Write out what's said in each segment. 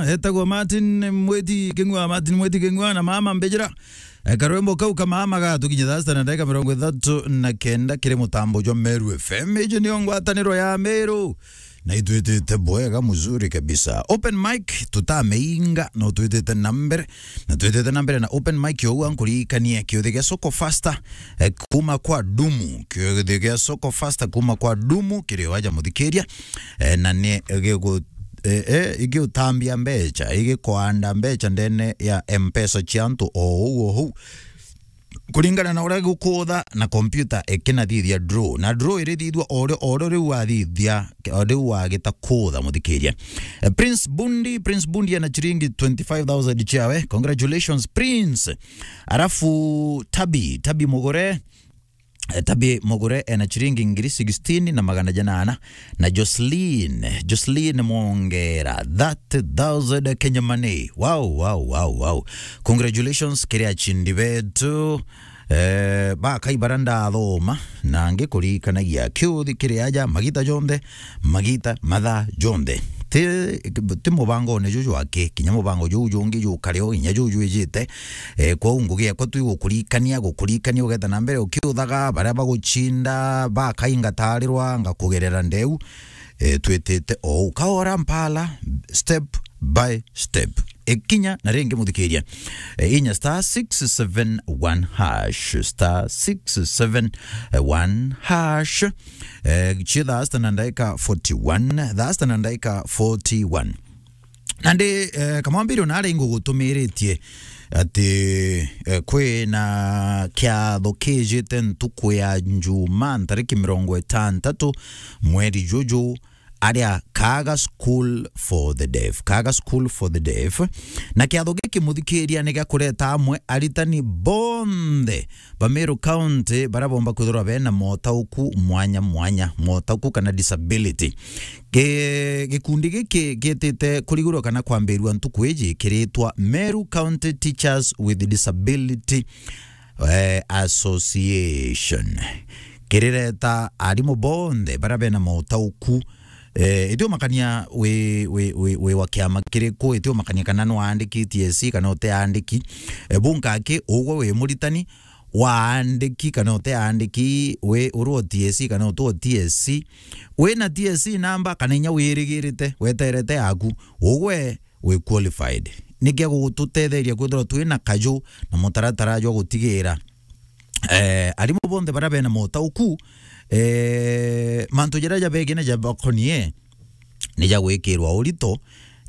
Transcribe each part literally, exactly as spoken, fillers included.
etagwa Martin Mweti King'ua, Martin Mweti King'ua na Mama Mbejera. Eh, karwimbo kau ka Mama gatukinya thaa sita na ndagika mirongo ithatu na kenda kiri mutambo jwa Meru F M. Iji niyo ngwataniro ya Meru. Na itwitite bwega mzuri kabisa. Open mic tutameinga, no twitite na mbere. Na twitite na mbere na open mic, ou ankuririkanie kiuthi gia Soko Faster, eh, kuma kwa Dumu. Kiuthi gia Soko Faster kuma kwa Dumu kiri o aja muthikiria. Eh, na ni gigu-, eh, eh, igiutambia mbecha, igikwanda mbecha ndene ya M-Pesa cia antu o ou o ou. Kuringana na uria gukutha na computer ikinathithia draw. Na draw irithithua o ri-, o ri-, riu wathithia, o riu wagita kutha, muthikiria. Eh, Prince Bundi, Prince Bundi ena chiringi twenty-five thousand chiawe. Congratulations, Prince. Arafu Tabi, Tabi Mugure, eh, Tabi Mugure ena chiringi ngiri sixteen na magana janana. Na Jocelyn, Jocelyn Mwongera, thirty thousand Kenya money. Wow, wow, wow, wow. Congratulations kiri achindi betu. Eh, bakai bara ndathoma, na ngikurikanagia kiuthi kiri aja magita jonthe, magita mathaa jonthe. Ti, ti mubangone juju aki, kinya mubango juu jungi jukare o, kinya juu jwijite. Eh, kwou ngugi yakwa tu igukurikania, gukurikania ugeta na mbere ukiuthaga, baria baguchinda, bakainga tarirwa, ngakugerera ndeu. Eh, twitite o u. Kaora mpala, step by step. Ikinya na ringi muthikiria. Eh, inya star six seven one hash, star six seven one hash. Eh, cia thaa sita na ndaika forty-one, thaa sita na ndaika forty-one. Na ndi, eh, kamwambiri ona ari ngugutumiritie ati, eh, kwi na kiatho kijite ntuku ya Njuma, ntariki mirongo itantatu mweri juju, aria Kaga School for the Deaf. Kaga School for the Deaf. Na kiatho giki muthikiria ni gia kureta amwe aritani bonthe ba Meru County, baria bomba kwithirwa bena motauku mwanya mwanya, motauku kana disability. Gi-, gikundi giki gitite kurigurwa kana kwambirua ntuku iji kiritwa Meru County Teachers with Disability, eh, Association. Kirireta arimu bonthe baria bena motauku, eh, itiumakania wi, wi, wi, wi wa kiama kiriku, itiumakania kana nwaandiki T S C kana utiaandiki. Eh, bunka aki, ugwe wi muritani, waandiki kana utiaandiki, wi uri o T S C kana uti o T S C, wina T S C namba kana inya wirigirite, weterete yaku, ugwe wi qualified. Niki agututetheria kwithirwa twina kaju na mutaratara jwa gutigira, eh, arimu bonthe baria bena motauku, eh, mantu jaria jabegie na jabakonie ni ja gwikirwa urito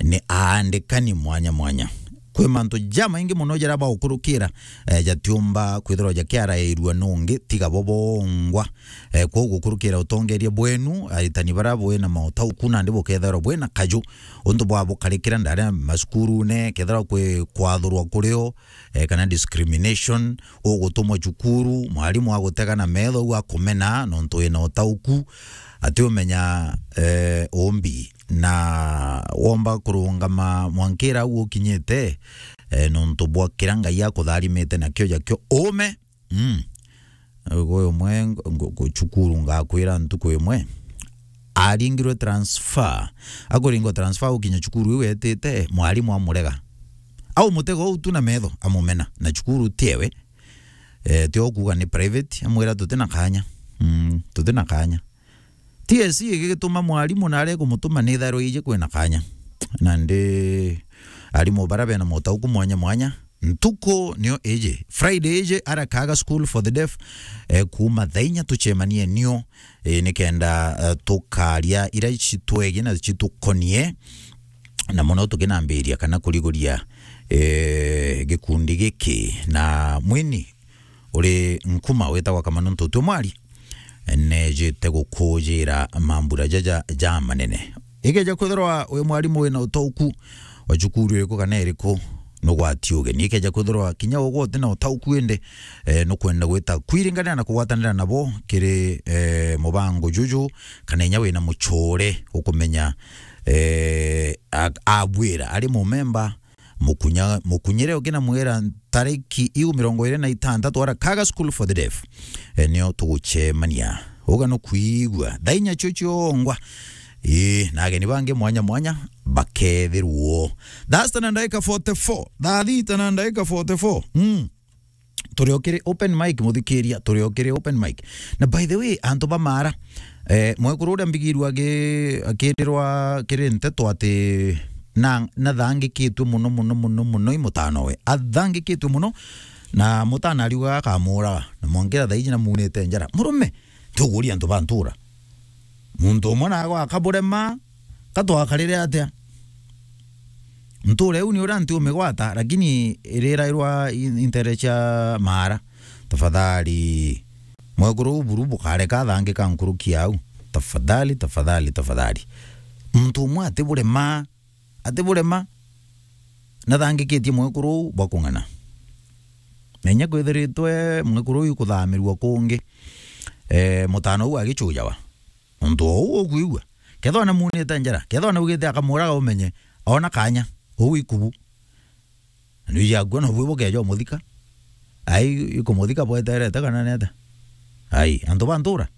ni aandikani mwanya mwanya. Kwi mantu jamaingi mono jaria bagukurukira, eh, jatiumba kwithirwa jakiarairua nungi tiga bo bongwa. Eh, kwou gukurukira utongeria bwenu, aritani baria bwina mautauku nandi bukethirwa bwina kaju untu bwa bukarikira ndari macukurune, kethirwa kwi kwathurwa kurio, eh, kana discrimination, ugutumwa cukuru, mwarimu agutega na metho au akumena nontu wina utauku, atiumenya, eh, umbi, na womba kurungama mwankira au ukinyite, eh, nontu bwa kiria Ngai akutharimite nakio jakio ume. Mm. Uyu umwe ngo-, ngo-, ngo-, cukuru ngakwira ntuku imwe aringirwe transfer. Akuringwa transfer gukinya cukuru iu etite, mwarimu amurega. Au mutego uu tu na metho amumena, na cukuru ti ewe. Eh, tio kuuga ni private, amwira tuti na kanya. Mm, tuti na kanya. T S C igigituma mwarimu na aria ikumutuma ni itharwa iji kwina kanya. Nandi arimu baria bena motauku mwanya mwanya, ntuku nio iji, Friday iji, ara Kaga School for the Deaf, eh, kuuma thaa inya tucemanie nio, eh, nikenda, eh, tukaria iria citwegie na citukonie, na mono tukinambiria kana kuriguria, eh, gikundi giki na mwini uri nkuma witagwa Kamano Ntutu Mwari, nejite gukujira mambura jaja ja manene. Ikeja kwithirwa wi mwarimu wina utauku wa cukuru iriku kana iriku, nugwati ugeni. Ikeja kwithirwa kinya ugwe uti na utauku indi, eh, nukwenda gwita kwiringania na kugwatanira nabo kiri, eh, mubango juju, kana inya wina muchure ukumenya, eh, a-, abwira ari mumemba, mukunya-, mukunyire ukinamwira ntariki iu mirongo iri na itantatu ara Kaga School for the Deaf, eh, nio tugucemania. Uga nukwigua. Thaa inya cio ciongwa, Ii, na ageni bangi mwanya mwanya bakethirwo. Thaa sita na ndagika forty-four. Thaa thita na ndagika forty-four. Mm. Turi o kiri open mic, muthikiria, turi o kiri open mic. Na by the way, antu ba Mara, eh, mwekuru uria mbigirwe agi-, akirirwa kiri nteto ati na, nathangikitwe muno, muno, muno, muno i mutanowe. Athangikitwe muno, na mutana ariuga akamuraga, na mwankira thaiji na muunite njara. Murume, tuguria antu ba ntura. Muntu umwe nago akaburema, ka twakarire atia? Ntura iu ni uria nti umigwata, lakini irirairwa i-, intere cia Mara. Tafadhali. Mwekuru u buru bukareka athangika nkuruki au. Tafadhali, tafadhali, tafadhali. Muntu umwe atiburema, atiburema, nathangikitie mwekuru u bwa kung'ana. Na inya kwithiritwe mwekuru uyu kuthamirua kungi, eh, mutano u agichujawa. Nontu o uu ukwigua. Kethwa namuunite njara, kethwa naugite akamuraga umenye, oona kanya, uu ikubu. Na nui yakua nobu bukeja umuthika. Ai, ikumuthika bweterete kana ni atia? Ai, antu ba ntura,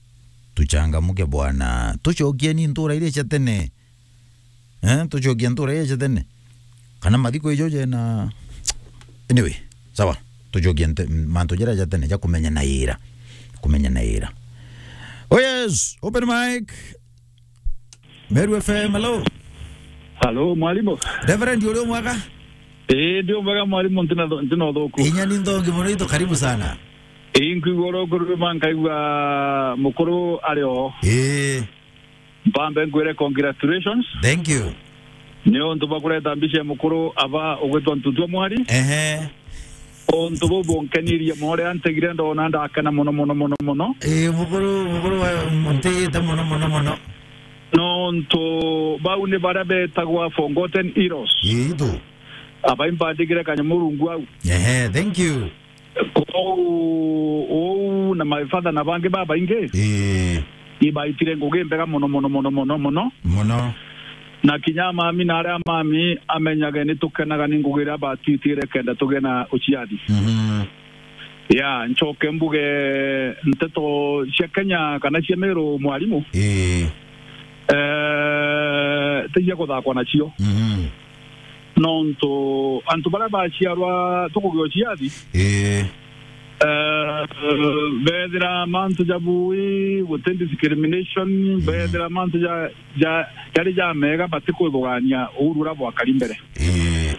tuchangamuke bwana. Tucokieni ntura iria cia tene. Eh, tucokie ntura iria cia tene. Kana mathiko ijo jena. Anyway, sawa. Tucokie nte-, mantu jaria ja tene ja kumenya na ira. Kumenya na ira. Oh yes, open mic. Meru F M, hello. Hello, mwalimu. Reverend, uri o mwega? Ii, ndi o mwega, mwalimu, ntina tho-, ntina uthuku. Inya ni nthongi muno itu, karibu sana. Ii, nkwigua oro kururuma, nkaigua mukuru ari o. Ii. Mpambe nkwire congratulations. Thank you. Ni untu bwa kureta mbica ya mukuru aba ugwitwa Ntutua Mwari. Ehe. Untu buu bunkenirie mono, riria ntegire ndona ndakena mono, mono, mono, mono. Ii, mukuru, mukuru wa, ntiite mono, mono, mono. Nontu bau ni baria betagwa forgotten heroes. Ii, tu. Aba imbandigire kanyamu rungu au. Ehe, thank you. Kou uu na my father na bangi babaingi, ii, ibaitire ngugi mbega mono, mono, mono, mono, mono. Mono. Na kinya mami na aria mami amenyage ni tukenaga ni ngugi iria batwitire kenda tugie na uciathi. Mhm. Ya, ncoke mbuge nteto cia Kenya kana cia Meru, mwalimu. Ii. Eh, ti cia kuthakwa nacio. Mhm. Nontu antu baria baciarwa tukugia uciathi, ii, eh, bethira mantu ja bui, guti discrimination, mm, bethira mantu ja, ja, jari ja mega, batikwithugania uru uria bwakari mbere. Ii.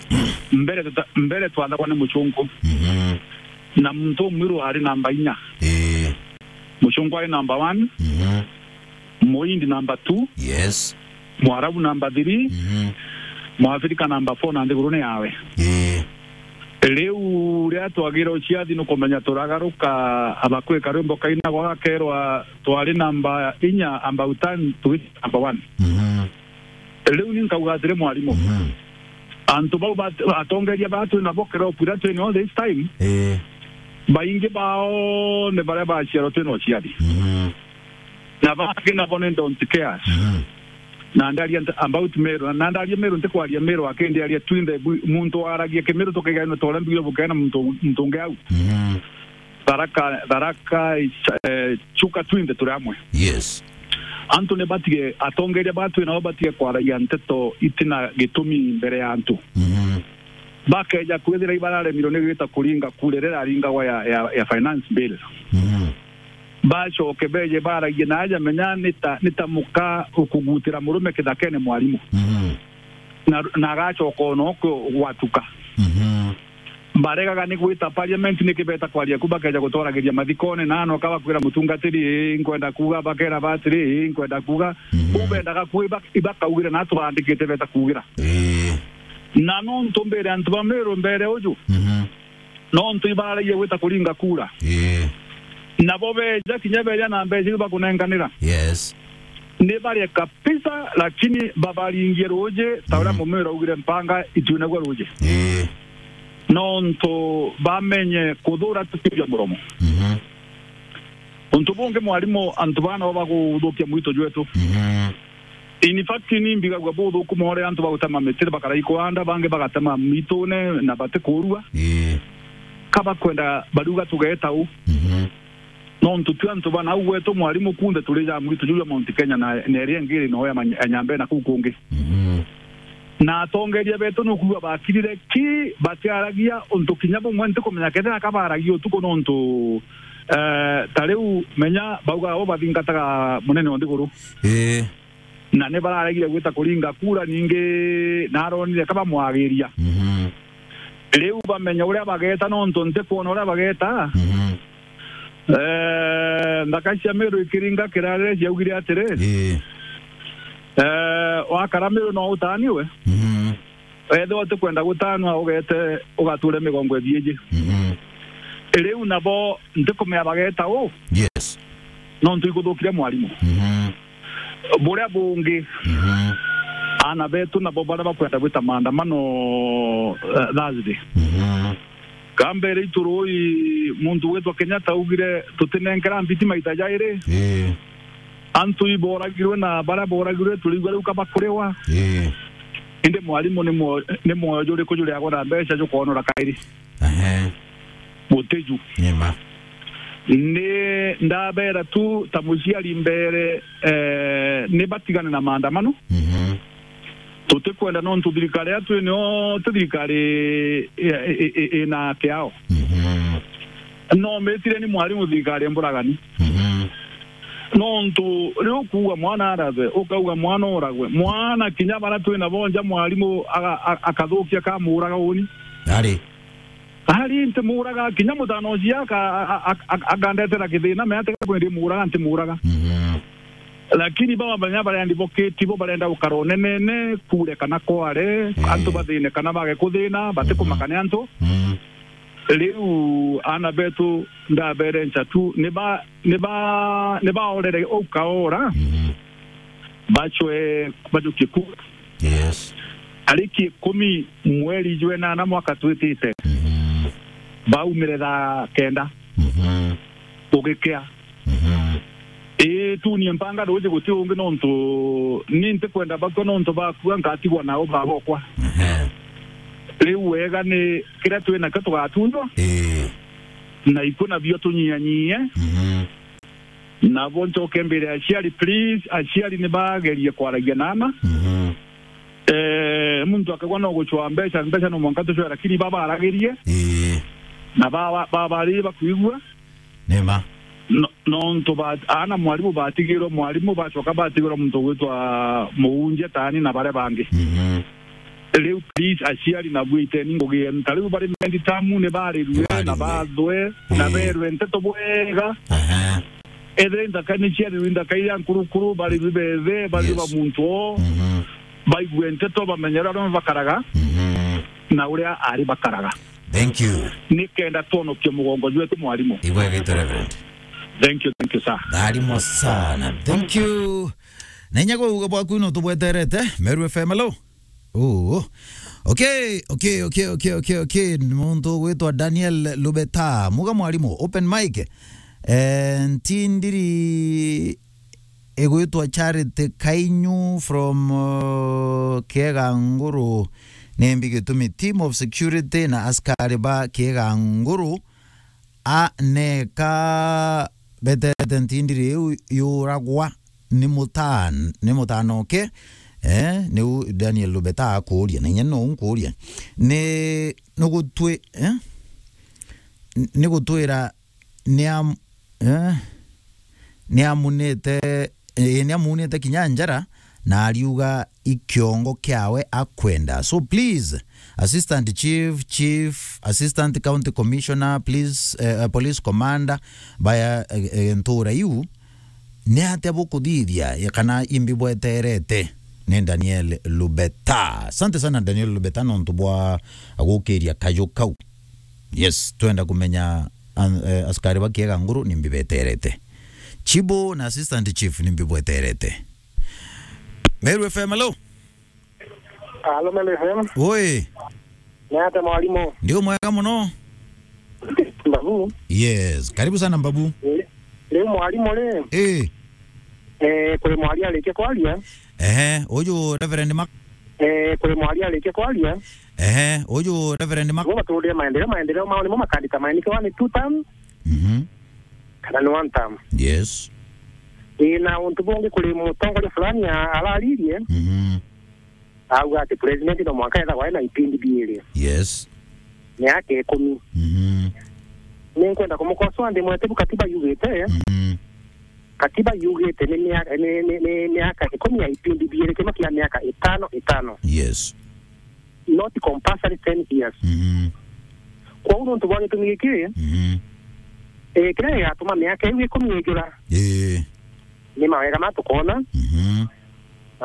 Mbere tuta-, mbere twathagwa ni mucungu. Mhm. Na muntu umwiru ari namba inya. Ii. Mucungu ari namba one. Mhm. Muhindi number two. Yes. Mwarabu number three. Mhm. Mwafrika number four na nthiguru ni yawe. Ii. Riu riria twagire uciathi nukumenya turagaruka, abakwika rwimbo kainagwa gakerwa twari namba inya about time to reach number one. Mhm. Riu ni nkauga atiri mwarimu. Mhm. Antu bau bat-, atongeria baa twi nabo kiropu iria twi nio this time, ii, baingi bao ni baria baciarwa twi na uciari. Mhm. Na bangi nabo ni don't cares. Mhm. Na ndaria nta-, about Meru, na ndaria Meru, ntikwaria Meru akindiaria twinthe bu-, muntu waragia Kimiru tukigaanua ta uria mbigire bukea na muntu, muntu ungi au. Mhm. Tharaka, Tharaka, eh, Chuka twinthe turi amwe. Yes. Antu ni batige, atongeria baa twi nabo batige kwaragia nteto itina gitumi mbere ya antu. Mhm. Bakeja kwithira ibararemirwe ni gwita kuringa kura iria iraringagwa ya, ya, ya finance bill. Mhm. Bacoke beje baragie na aja menya ni ta, ni ta muka ukugutira murume kithakene mwarimu. Mhm. Na, na agacoka o nokwo gwatuka. Mhm. Baregaga ni gwita parliament, niki beta kwaria ku, bakeja gutwaragiria mathikone, na anoka bakwira mutungatiri, "Ii, nkwenda kuuga," bakera batiri, "Ii, nkwenda kuuga." Mhm. Kuu bendaga kuuga, iba-, ibakaugire na tubandikite beta kuugira. Ii. Na nontu mbere antu ba Meru mbere uju, mhm, nontu ibararagia gwita kuringa kura. Ii. Nabo beja, kinya beja na mbeca iu bakunenkanira. Yes. Ni baria kabisa, lakini babaringie ruuji, ta uria, mhm, Mumira augire, mpanga itiunagua ruuji. Ii. Nontu bamenye kuthura tukiuria muromo. Mhm. Untu bungi mwarimu, antu baa nabo baguthukia mwitu jwetu. Mhm. In fact, ni mbigagua buthuku more antu bagutema miti, bakarai kwanda, bangi bagatema mitune na batikurua. Ii. Ka bakwenda bariuga tugeta u. Mhm. Nontu twi antu ba nau gwetu, mwarimu, kunthe turi ja mwitu juu jwa Mount Kenya na, na iria ingi iri no ya many-, ya Nyambene na kuu kungi. Mhm. Na atongeria betu nukwigua bakirire ki, batiaragia untu kinya bumwe, ntikumenya kethira ka baragia utuku nontu, eh, ta riu menya baugaga bo bathingataga munene o nthiguru. Ii. Na ni bararegire gwita kuringa kura, ningi naronire ka bamwagiria. Mhm. Riu bamenya uria bageta, nontu ntikwona uria bageta. Mhm. Eh, nthaka cia Meru ikiringa kirarire ciaugire atiri, ii, eh, wakara Meru no utaniwe. Mhm. Ethirwa utikwenda gutanwa, ugete ugature migongo ithiiji. Mhm. Riu nabo ntikumea bageta u. Yes. Nontu ikuthukire mwarimu. Mhm. Buria bungi, mhm, aana betu nabo baria bakwenda gwita maandamano, eh, Thursday. Mhm. Kambere itu rui, muntu witwa Kenyatta augire, "Tutinenkera mbiti maita jairi." Ii. Antu iboragirwe na baria boragirwe turigua riu ka bakuriwa. Ii. Indi mwarimu ni mwo-, ni mwoyo juriku juriagwa na mbeca jukonora kairi? Ehe. Gutiju. Ni ma. Ni ndabera tu ta muciari mbere, eh, ni batigane na maandamano. Mhm. Tutikwenda nontu thirikari ya twi nio ti thirikari i-, i-, i-, ina kiao. Mhm. No mitire ni mwarimu thirikari mburagani. Mhm. Nontu riu kuuga mwana arathe, ukauga mwana uragwe. Mwana kinya bara twina bo nja mwarimu aga-, a-, akathukia kamuraga uni. Ari. Ari ntimuraga, kinya mutano ucio aka-, a-, a-, a-, akandetera kithina, me ati kwendi muraga, ntimuraga. Mhm. Lakini baba banya baria ndiboketi bo barenda gukara unenene, kure kana kware, eh, antu bathine kana bage kuthina, batikumaka ni antu. Mhm. Riu aana betu ndaberenca tu, ni ba-, ni ba-, ni baorere uu kaora, mhm, bacwe bajukie ku. Yes. Tariki ikumi mweri jwa enana mwaka twitite, mhm, baumire thaa kenda, mhm, ugikea. Mhm. Ii, tunie mpanga ruuji guti ungi nontu ni ntikwenda bakua nontu bakua nkatigwa nao babokwa. Ehe. Riu wega ni kiria twinakio tugatunywa. Ii. Na ikuna bio tunyianyie. Mhm. Nabo ncoke mbere ya aciari, please, aciari ni bagerie kwaragia na aana. Mhm. Eh, muntu akagwa no gucwa mbeca, mbeca no mwanka tucwe, lakini baba aragirie. Ii. Na baba, baba ari bakuigua. Ni ma. No, nontu ba-, aana mwarimu batigirwe mwarimu, bacoka batigirwe muntu ugwitwa muunjia taani na baria bangi. Mhm. Riu please, aciari na bwiteni ngugi yenu. Ta riu bari mendi tamu ni barirue, ni barirue, na bathwe, na, ii, berwe nteto bwega. Aha. Ethire nthaka ni ciarirwe nthaka iria nkurukuru, barirwe bethe, barirwe, yes, ba muntu o. Mhm. Baigue nteto, bamenye uria arome bakaraga, mhm, na uria ari bakaraga. Thank you. Nikenda twonokie mugongo jwetu, mwarimu. Ibwegete, Reverend. Thank you, thank you, sir. Tharimo sana. Thank you. Na inya kuuga bwaku no tubweterete. Meru F M, hello. Oh. Okay, okay, okay, okay, okay, okay. Muntu gwitwa Daniel Lubeta. Muga mwarimu, open mic. Eh, ntindiri igwitwa Charity Kainyu from, uh, Kieganguru. Nimbi gitumi team of security na askari ba Kieganguru a neka betete ntindiri iu yuragwa ni mutan-, ni mutanoke? Eh, niu Daniel Lubeta akuuria, na inya no nkuuria. Ni, ni gutwi-, eh? Ni gutwira ni am-, eh, ni amunite, eh, ni amunite kinya njara, na ariuga i kiongo kiawe akwenda. So please, Assistant Chief, Chief, Assistant County Commissioner, please, eh, eh, Police Commander, baya, eh, eh, ntura iu, ni atia bukuthithia, ya kana imbi bweterete? Ni Daniel Lubeta. Asante sana Daniel Lubeta nontu bwa gukiria kaju kau. Yes, twenda kumenya an-, eh, askari ba Kieganguru nimbi beterete. Chibo na Assistant Chief nimbi bweterete. Meru F M, hello. Hello, Meru F M. Oi. Ni atia mwarimu? Ndio mwega muno. Mbabu. Yes, karibu sana Mbabu. Eh, riu mwarimu ri? Eh. Eh, kuri mwari arikia kwaria. Ehe, uju Reverend Mak- Eh, kuri mwari arikia kwaria. Ehe, uju Reverend Mak- Niguo baturire maendeleo, maendeleo mao nimo makandika maenike one two term. Mhm. kana ni one term. Yes. Ii, na untu bungi kuri mutongoria fulani a-, araririe, Mhm. auga ati president no mwanka ethagwa ena ipindi biiri, Yes. miaka ikumi. Mhm. Ni nkwenda kumukosoa ndi mwete bu katiba yugite, Mhm. katiba yugite ni mia-, ni, ni, ni miaka ikumi ya ipindi biiri, kimwe kia miaka itano itano. Yes. Not compulsory ten years. Mhm. Kwou nontu bwa gitumi giki, Mhm. eh, kiria gigatuma miaka iu ikumi ijura, Ii. ni mawega ma tukoona. Mhm.